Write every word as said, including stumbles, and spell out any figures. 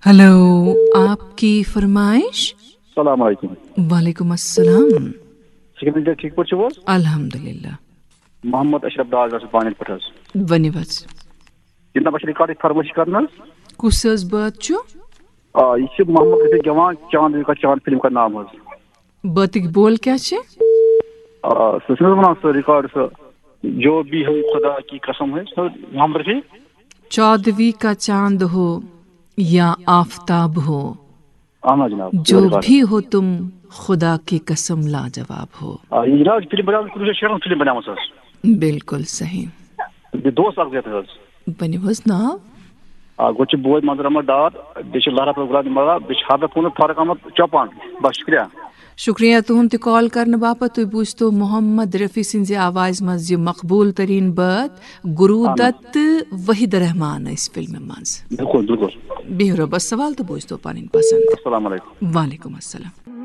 Hello, آپ کی فرمائش؟ السلام علیکم۔ وعلیکم السلام۔ سکندر، ٹھیک پٲٹھۍ چھِو حظ؟ الحمدللہ۔ محمد اشرف ڈار حظ، بانٮ۪ن پٮ۪ٹھ حظ۔ ؤنِو حظ۔ جناب، اَسہِ چھِ ریکارڈٕچ فرمٲیش کرنہٕ حظ۔ کُس حظ بٲتھ چھُ؟ آ، یہِ چھِ محمد رفیع گٮ۪وان، چاند کا چاند فلم کا نام حظ۔ بٲتٕکۍ بول کیٛاہ چھِ؟ آ، سُہ چھُنہٕ حظ وَنان سُہ ریکارڈ سُہ، جو بھی ہو خدا کی قسم ہے، سُہ محمد رفیع۔ چودوی کا چاند ہو یا آفتاب ہو، اہن حظ جناب، جو ریکارڈ۔ بھی ہو تم خدا کی قسم لاجواب ہو۔ آ، یہِ جناب، فلم بناوان، کُنوُہ شیٚتھ شیٹھَس منٛز فلم بناومٕژ حظ۔ بالکل صحیح۔ بیٚیہِ دوس اکھ زیادٕ حظ۔ ؤنِو حظ ناو۔ آ، گۄڈٕ چھُ بوے منظر احمد ڈار، بیٚیہِ چھُ لہرا پروگرام دِوان، بیٚیہِ چھُ حافظ پوٗنٛژ طارق احمد چوپان۔ بس، شُکریہ۔ شُکریہ تُہُنٛد تہِ کال کرنہٕ باپتھ۔ تُہۍ بوٗزتو محمد رفیع سٕنٛزِ آوازِ منٛز یہِ مقبوٗل تریٖن بٲتھ، گروٗ اہن۔ دت تہٕ وحید رحمان ٲسۍ فلمہِ منٛز۔ بِلکُل، بِلکُل۔ بِہِو رۄبس حوال تہٕ بوٗزتو پنٕنۍ پسند۔ السلام علیکم۔ وعلیکم السلام۔